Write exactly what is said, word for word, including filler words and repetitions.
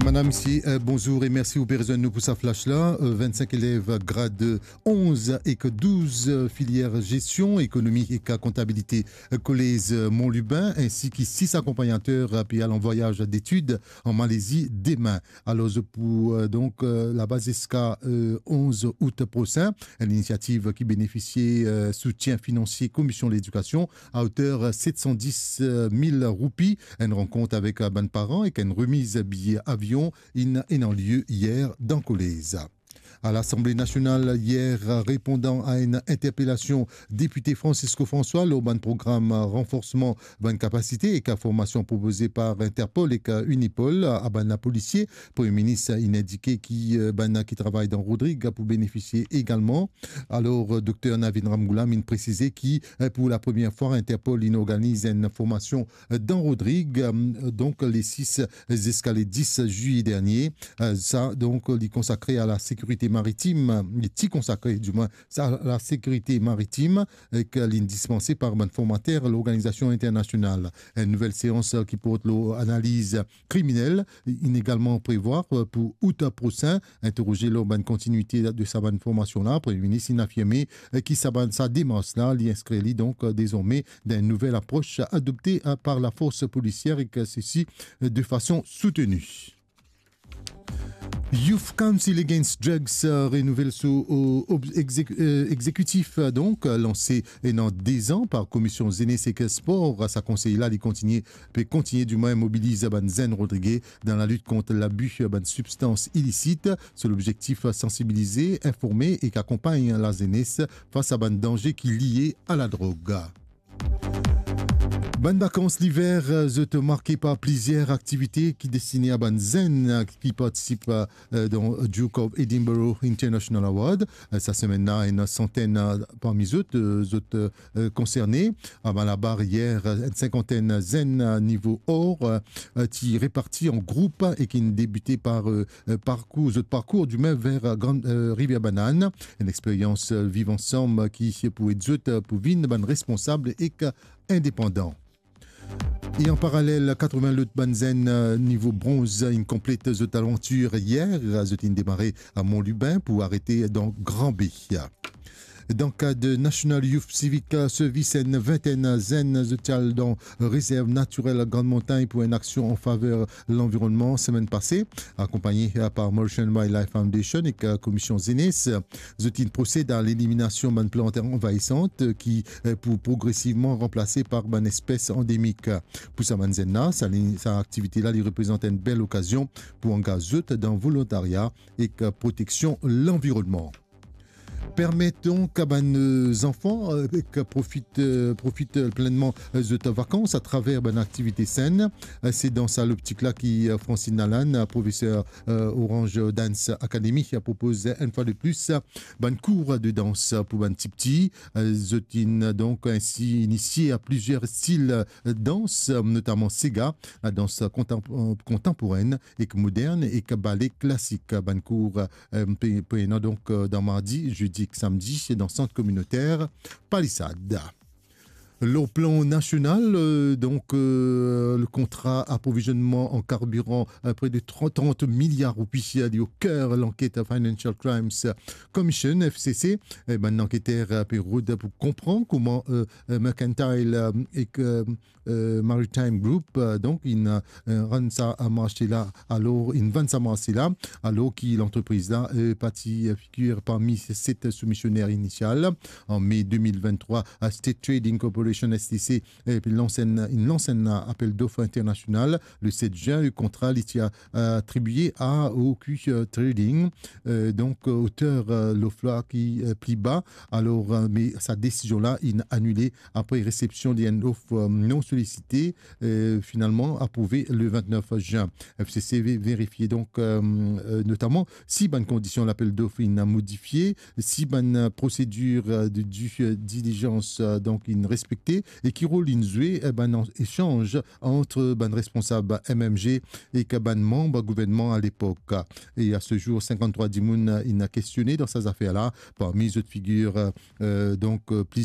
Madam, misie, euh, bonzour e mersi ou pe rezwenn nou pou sa flash la. Euh, vennsenk elev grad onz ek douz, euh, filier gestion, ekonomi ek kontabilite, euh, kolez, euh, Mont Lubin, ensi ki sis akonpagnater, euh, pe al an vwayaz detid an Malezi demin. Alor, pou, euh, donk, euh, laba ziska, euh, onz out prosin, enn linisiativ ki benefisie, euh, soutien finansie Komision Ledikasion a oter set san dis mil roupi, enn rankont avek, euh, bann paran ek enn remiz biye avion inn, inn ena lie yer dan kolez. A Lasanble Nasional yer, repondan a enn interpelasion depite Francisco François lor bann program ranforsman bann kapasite ek formasion propoze par Interpol ek Unipol a bann lapolisie, Premie Minis inn indike ki, euh, bann ki travay dan Rodrig pou benefisie egalman. Alor, euh, Dokter Navin Ramgoolam inn presize ki, euh, pou lapremier fwa, Interpol inn organiz enn formasion, euh, dan Rodrig, euh, donk le sis ziska le dis zilye dernie. Euh, sa, donk, li konsakre a lasekirite maritim, li ti konsakre, dimwin, sa, lasekirite maritim, ek li inn dispanse par bann formater lorganizasion internasional. Enn nouvel seans, euh, ki port lor analiz kriminel inn egalman prevwar, euh, pou out prosin, interroze lor bann kontinwite de sa bann formasion la. Premie Minis inn afirme, euh, ki sa bann, sa demars la, li inskrir li donk, euh, dezorme dan enn nouvel apros adopte, euh, par lafors polisier ek, euh, sesi, euh, de fason souteni. Youth Council Against Drugs, euh, renouvel so, euh, ob-, exek-, euh, exekitif, euh, donk, euh, lanse ena dezan par Komision Zenes ek Spor. Sa konsey la, li kontinie, pe kontinie dimwin mobiliz bann zenn Rodrige dan lalit kont labi bann sibstans ilisit. So lobzektif, sansibilize, informe ek akonpagn lazenes fas a bann danze ki lie a ladrog. Bann vakans liver, euh, zot marke par plizier aktivite ki destine a bann zenn, euh, ki partisip, euh, euh, dan Duke of Edinburgh International Award. Euh, sa semenn la, enn santenn, euh, parmi zot, euh, zot, euh, euh, konserne. A Malabar yer, euh, enn sinkantenn zenn, euh, nivo or, euh, euh, ti reparti an group e ki inn debite par, euh, euh, parkour, zot parkour dimwin ver, euh, Gran, euh, Rivier Banane. Enn experyans, euh, viv ansam, euh, ki pou ed zot, euh, pou vinn bann responsab ek, euh, indepandan. E an paralel, katrevin lot bann zenn, euh, nivo bronz, euh, inn konplet zot avantir yer. Zot inn demare a Mont Lubin pou arete dan Gran Be. Dan kad National Youth Civic Service, enn vintenn zenn zot ti al dan rezerv natirel Grand Montagne pou enn aksion an faver lanvironnman semenn pase, akonpagne, euh, par Mauritian Wildlife Foundation ek, euh, Komision Zenes. Zot inn prosed a leliminasion bann plant anvayisan, euh, ki, euh, pou progresivman ranplase par bann espes andemik. Pou sa bann zenn la, sa li, sa aktivite la, li reprezant enn bel okazion pou angaz zot dan volontarya ek, euh, proteksion lanvironnman. Permet donk a bann, euh, zanfan, euh, ek profit, euh, profit, euh, plennman, euh, zot vakans atraver bann aktivite senn. Euh, se dan sa loptik la ki, euh, Francine Lalanne, euh, profeser, euh, Orange Dance Academy, a propoz enn fwa de plis, euh, bann kour de dans pou bann tipti. Euh, zot inn donk ensi inisie a plizier stil, euh, dans, euh, notaman sega, ladans kontan-, euh, kontanporenn ek modern, ek bale klasik. Bann kour, euh, pe, pe ena donk, euh, dan mardi, zedi ek samdi, dan sant kominoter Palisad. Lor plan nasional, euh, donk, euh, le kontra aprovizionman an karbiran, euh, pre de trant, trant miliar roupi, euh, li o ker lanket Financial Crimes Commission, F C C. E bann lanketer, euh, pe rod pou konpran kouma, euh, euh, Mercantile, euh, ek, euh, euh, Maritime Group, euh, donk, inn, euh, rann sa marse la, alor, inn vann sa marse la, alor ki lantrepriz la, euh, pa ti, euh, figir parmi se set soumisioner inisial. An me de mil venntrwa, euh, State Trading Corporation, S T C, euh, pe lans enn, inn lans enn apel dof internasional le set zin. Le kontra, li ti a, euh, atribie a O Q, euh, Trading, euh, donk, euh, oter, euh, lof la ki, euh, pli ba. Alor, euh, me sa desizion la inn anile apre resepsion de enn lof, euh, non solisite, euh, finalman aprouve le vintnef zin. F C C ve-, verifie donk, euh, euh, notaman si bann kondision lapel dof inn modifie, si bann, euh, prosedir, euh, de due, euh, diligence, euh, donk inn respekte, e ki rol inn zwe, euh, bann an-, esanz ant bann responsab M M G ek bann manb gouvernman a lepok. E a se zour, sinkanntrwa dimoun inn kestione dan sa zafer la, parmi zot figir, euh, donk, euh, plizier